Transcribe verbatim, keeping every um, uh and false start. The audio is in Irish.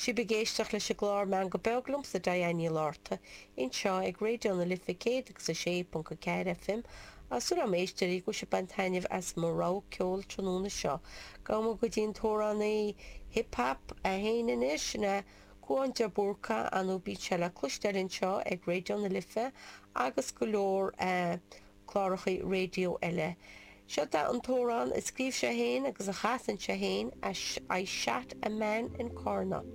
Sibh ag éisteacht leis an gclár Meangadh Beag liomsa Diane Ní Lorta anseo ag Raidió na Life céad agus a sé ponc a ceathair FM Tá súil agam a éisteoirí go bhfuil sibh ag baint taitneamh as mo rogha ceoil tráthnóna seo. Gabhfaidh muid go dtí an t-amhránaí hip hop é féin anois, sin é Cúán de Búrca, ar ndóigh bíonn sé le cloisteáil anseo ag Raidió na Life agus go leor cláracha raidió eile. Seo é an t-amhrán a scríobh sé féin agus a chasann sé féin, I Shot a Man in Carna.